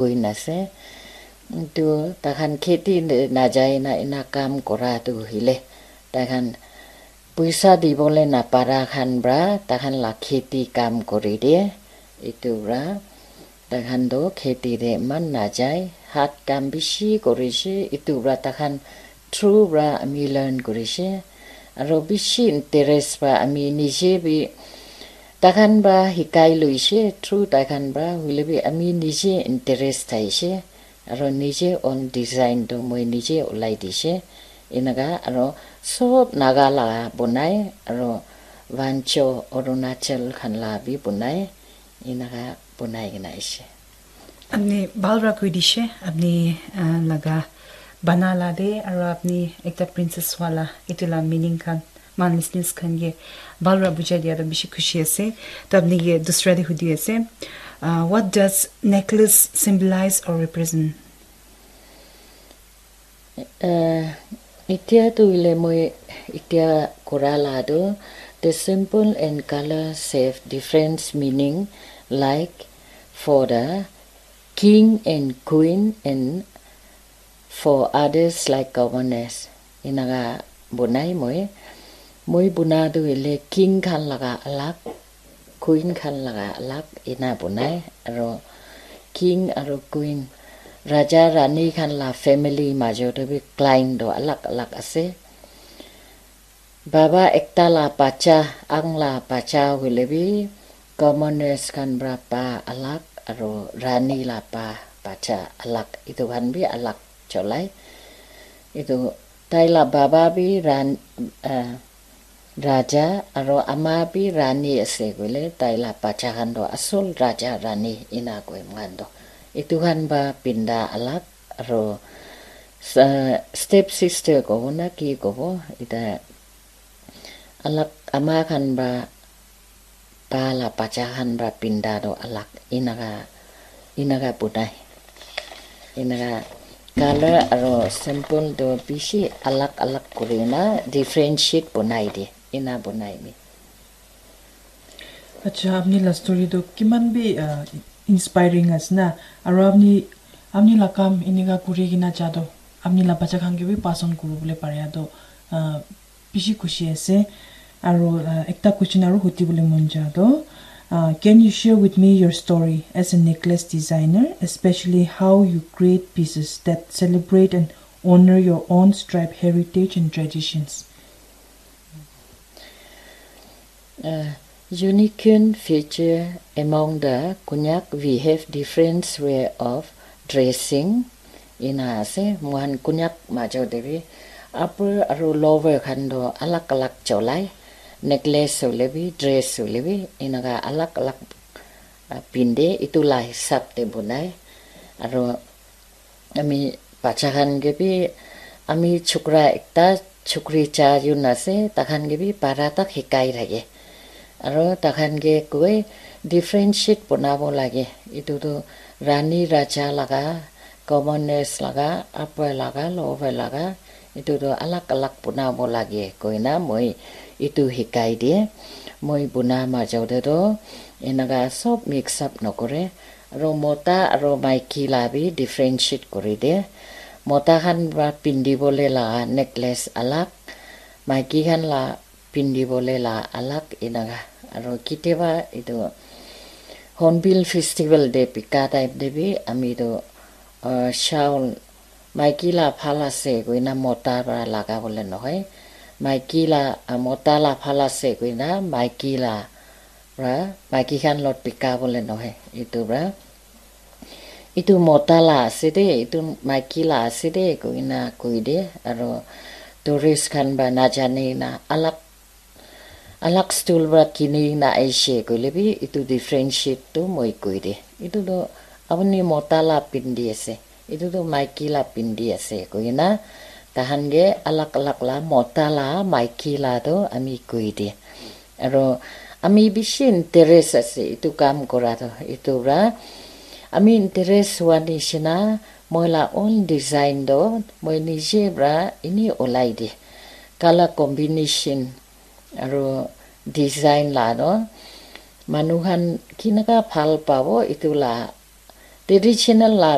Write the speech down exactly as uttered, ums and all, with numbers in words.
koi na ase. Etu takhan kheti najai na ena kam kora tu hoile, takhan puisa dibole napara khan pra takhan la kheti kam kori de. Etu pra takhan toh kheti te eman najai, hat kam bishi korishe, etu pra takhan through pra ami learn korishe, aro bishi interest pra ami nije bi takhan pra hikai loishe, through takhan pra hoile bi ami nije interest thaishe, aro nije own design toh moi nije ulai dishe, enaka aro sob Naga la bonai, aro Wancho Arunachal khan la bi bonai, enaka bonai kena aishe. Apni bhal para koi dishe, apni, ah, laga bana la de, aro apni ekta princess wala, etu la meaning khan, man listeners khan ke bhal para bujai dia toh bishi khushi ase. To apni ke dusra de hudi ase, ah, what does necklace symbolize or represent? Eh, etia tu hoile moi etia kora la tu, the symbol and colors have different meaning, like for the king and queen and for others like governors. Enaka bonai moi. Moi buna tu hoile king khan laga alag, queen khan laga alag ena bonai, aro king aro queen, raja rani khan la family majo te bi client toh alag alag ase. Baba ekta la bacha, ang la bacha hoile bi commoners khan pra pa alag aro rani la pa bacha alag, etu khan bi alag cholai. Etu tai la baba bi ran, ah, raja aro ama bi rani ase koile, tai la bacha khan toh asol raja rani ena koi moikhan toh. Etu khan ba pinda alag aro sa-, step sister kobo na ki kobo, eta alag ama khan ba pa la bacha khan pra pinda toh alag, enaka, enaka bonai. Enaka color aro symbol toh bishi alag alag kuri na differentiate bonai de, ena bonai mi. Acha, apni la story toh kiman bi, ah, inspiring ase na, aro apni, apni la kam eneka kuri kena ja toh apni la bacha khan ke bi pass on kuri bole pare toh, ah, bishi khushi ase. Aro, ah, ekta question aro huti bole mon ja toh, ah, can you share with me your story as a necklace designer, especially how you create pieces that celebrate and honor your own tribe heritage and traditions? Uh, unique feature among the Konyak, we have different way of dressing. Ena ase, moikhan Konyak majo te bi upper aro lower khan toh alag alag cholai, necklace hoile bi, dress hoile bi, enaka alag alag, ah, pinde, etu la hisab te bonai. Aro ami bacha khan ke bi, ami chokra ekta, chokri charjun ase, takhan ke bi para tak hikai thake. Aro takhan ke koi differentiate bonabo lage. Etu tu rani raja laga, commoners laga, upper laga, lower laga, etu tu alag alag bonabo lage koina moi etu hikai die. Moi bona majo te tu enaka sob mix up nokore. Aro mota aro maiki la bi differentiate kuri de. Mota khan pra pindi bole la necklace alag, maiki khan la pindi bole la alag enaka. Aro kitiaba etu Hornbill Festival te bika time te bi ami tu, uh, shawl maiki la bhal ase koina mota pra laga bole nohoi. Maiki la, ah, mota la bhal ase koina maiki la pra maiki khan lot bika bole nohoi. Etu pra, "Etu mota la ase de, etu maiki la ase de," koina koi de. Aro tourist khan pra najane na alag alag stool pra kini na aishe koile bi, etu differentiate tu moi koi de. Etu tu apuni mota la pindi ase, etu tu maiki la pindi ase koina, tahan ke alag alag la mota la maiki la tu ami koi de. Aro ami bishi interest ase etu kam kora tu, etu pra ami interest hua nishina moi la own design tu moi nije pra ini olai de. Color combination aro design la toh manu khan kinaka bhal pabo, etu la Traditional la